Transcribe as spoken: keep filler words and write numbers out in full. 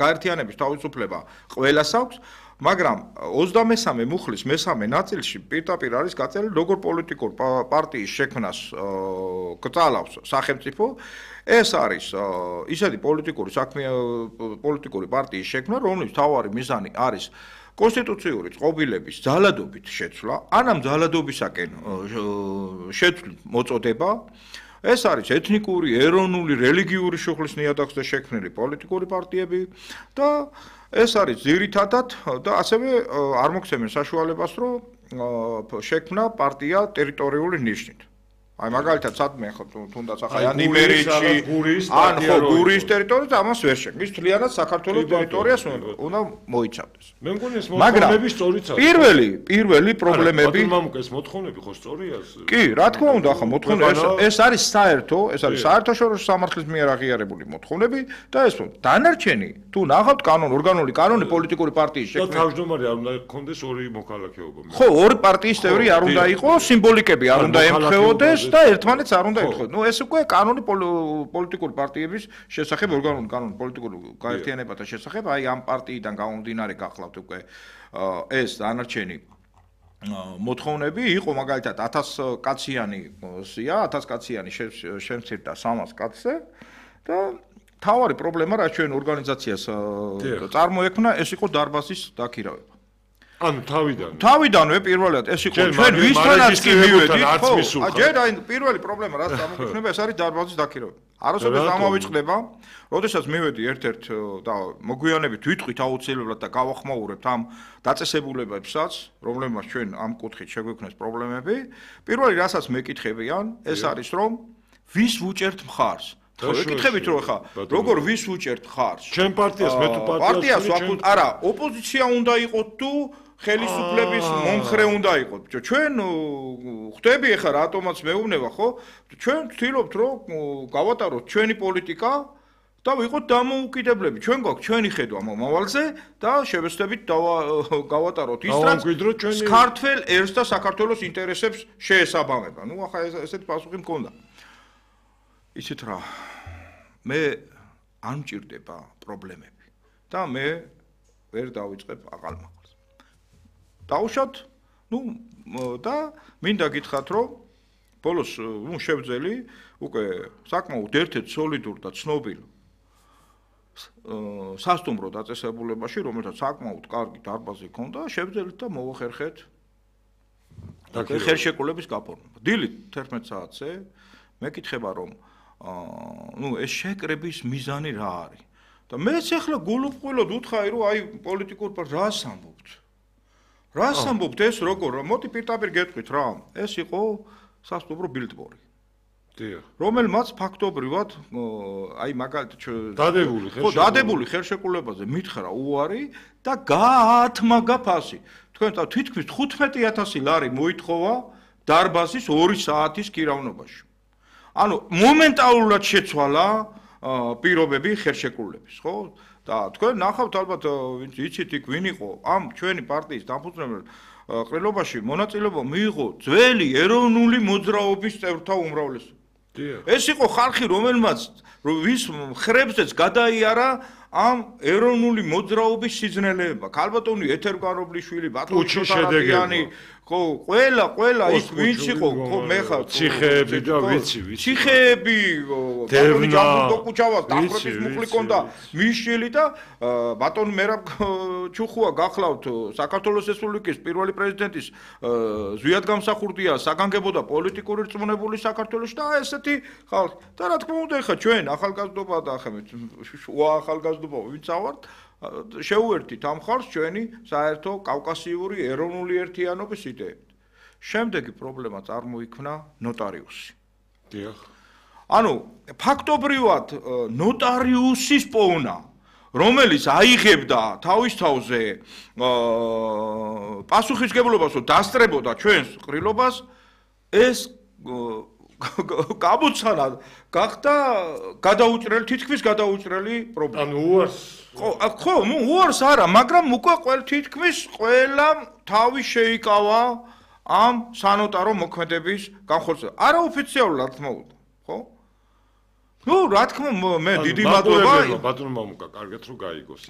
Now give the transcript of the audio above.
გაერთიანების თავისუფლება ყველას აქვს, მაგრამ ოცდამესამე მუხლის მესამე ნაწილში პირდაპირ არის გაწერილი, როგორ პოლიტიკურ პარტიის შექმნას კრძალავს სახელმწიფო. ეს არის ისეთი პოლიტიკური საქმე პოლიტიკური პარტიის შექმნა, რომლის მთავარი მიზანი არის კონსტიტუციური წყობილების ძალადობით შეცვლა, ან ამ ძალადობისაკენ შეცვლით მოწოდება. ეს არის ეთნიკური, ეროვნული, რელიგიური შუხლის ნიადაგზე შექმნილი პოლიტიკური პარტიები და ეს არის ძირითადად და ასევე არ მოგცემენ საშუალებას, რომ შექმნა პარტია ტერიტორიული ნიშნით. აი მაგალითად სადმე ხო თუნდაც ახლა ან იმერეთში ან ხო გურიის ტერიტორიაზე ამას ვერ შექმნის. ის თლიანად საქართველოს ტერიტორიას უნდა მოიცავდეს. მე მგონი ეს მოთხოვნები სწორიც არის. პირველი, პირველი პრობლემები მამუკა ეს მოთხოვნები ხო სწორია? კი, რა თქმა უნდა, ახლა მოთხოვნები ეს არის საერთო, ეს არის საერთაშორისო სამართლის მიერ აღიარებული მოთხოვნები და ეს დანარჩენი თუ ნახავთ კანონ, ორგანული კანონი პოლიტიკური პარტიის შექმნა. და თავმჯდომარე არ უნდა გქონდეს ორი მოქალაქეობა. ხო, ორი პარტიის წევრი არ უნდა იყოს, სიმბოლიკები არ უნდა ემთხვეოდეს და ერთმანეთს არ უნდა ეთხოვოთ. ნუ ეს უკვე კანონი პოლიტიკური პარტიების შესახებ, ორგანული კანონი პოლიტიკური გაერთიანებათა შესახებ, აი ამ პარტიიდან გამომდინარე გახლავთ უკვე ეს დანარჩენი მოთხოვნები იყო მაგალითად ათას კაციანი სია, ათას კაციანი შემცირდა სამას კაცზე და თავარი პრობლემა რაც ჩვენ ორგანიზაციას წარმოექმნა, ეს იყო დარბაზის დაქირავება. ანუ თავიდან. თავიდანვე პირველად ეს იყო ჩვენ ვისთანაც კი მივედით, ხო? ჯერ აი პირველი პრობლემა რაც გამოგვიჩნდება, ეს არის დარბაზის დაქირავება. არასოდეს ამავიწყდება, როდესაც მივედი ერთ-ერთ და მოგვიანებით ვიტყვით აუცილებლად და გავახმაურებთ ამ დაწესებულებებსაც, რომლებმაც ჩვენ ამ კუთხით შეგვექმნეს პრობლემები. პირველი რასაც მეკითხებიან, ეს არის რომ ვის ვუჭერთ მხარს? ვეკითხებით რომ ხა როგორ ვის ვუჭერთ მხარს? ჩვენ პარტიას მე თუ პარტიას ვაკუთ, არა, ოპოზიცია უნდა იყოს თუ ხელისუფლების მომხრე უნდა იყოს. ჩვენ ხვდები ახლა რატომაც მეუბნება, ხო? ჩვენ ვთქვით რომ გავატაროთ ჩვენი პოლიტიკა და ვიყოთ დამოუკიდებლები. ჩვენ გვაქვს ჩვენი ხედვა მომავალზე და შევეცდებით გავატაროთ ის რაც ქართველ ერს და საქართველოს ინტერესებს შეესაბამება. ნუ ახლა ესეთი პასუხი მქონდა. იცით რა, მე არ მჭირდება პრობლემები და მე ვერ დავიწყებ აყალმაყალს. დავუშვათ, ნუ და მინდა გითხრათ, რომ ბოლოს ნუ შევძელი უკვე საკმაოდ ერთ-ერთ სოლიდურ და ცნობილ სასტუმრო დაწესებულებაში, რომელსაც საკმაოდ კარგი დარბაზი ჰქონდა, შევძელით და მოვახერხეთ ხელშეკრულების გაფორმება. დილით თერთმეტ საათზე მეკითხება რომ ნუ ეს შეკრების მიზანი რა არის? და მეც ახლა გულუყვილოდ ვუთხარი რომ აი პოლიტიკურ რას ამბობთ? რას ამბობთ ეს როგორ? მოდი პირდაპირ გეტყვით რა. ეს იყო სასტუმრო ბილდბორი. დიახ. რომელმაც ფაქტობრივად აი მაგალითად დადებული ხელშეკრულება. ხო, დადებული ხელშეკრულებაზე მითხრა უარი და გაათმაგა ფასი. თქვენ თითქმის თხუთმეტი ათასი ლარი მოითხოვა დარბაზის ორი საათის კირავნობაში. ანუ მომენტალურად შეცვალა პირობები ხელშეკრულების, ხო? და თქვენ ნახავთ ალბათ ვინც იცით იქ ვინ იყო ამ ჩვენი პარტიის დამფუძნებელ ყრილობაში მონაწილეობა მიიღო ძველი ეროვნული მოძრაობის წევრთა უმრავლესობა. ეს იყო ხალხი, რომელმაც ვის მხრებზეც გადაიარა ამ ეროვნული მოძრაობის სიძნელეება. ქალბატონი ეთერგარობლიშვილი, ბატონი შოთარაკიანი, ხო, ყველა, ყველა ის ვინც იყო, ხო, მე ხარ ციხეები და ვიცი, ვიცი. ციხეები, ბატონი ჯანბუდოკუჩავა, დახვრეტის მუხლი კონდა, მიშილი და ბატონი მერაბ ჩუხუა გახლავთ საქართველოს რესპუბლიკის პირველი პრეზიდენტის ზვიად გამსახურდია საგანგებო და პოლიტიკური რწმუნებული საქართველოში და ესეთი ხალხი. და რა თქმა უნდა, ეხა ჩვენ ახალგაზრდობა და ახლა შუა ახალგაზრდობა ვინც ავართ, შევუერთით ამ ხალხს ჩვენი საერთო კავკასიური ეროვნული ერთიანობის იდეებით. შემდეგი პრობლემა წარმოიქმნა ნოტარიუსი. დიახ. ანუ ფაქტობრივად ნოტარიუსის პოვნა, რომელიც აიღებდა თავის თავზე პასუხისმგებლობას, რომ დასწრებოდა ჩვენს ყრილობას, ეს გამოცანა გახდა გადაუჭრელი, თითქმის გადაუჭრელი პრობლემა. ანუ უარს ხო, ხო, ნუ უარს არა, მაგრამ უკვე ყველა თითქმის ყველა თავი შეიკავა ამ სანოტარო მოქმედების განხორციელებას. არაოფიციალურად რა თქმა უნდა, ხო? ნუ რა თქმა მე დიდი მადლობა ბატონო მამუკა, კარგად რომ გაიგოს.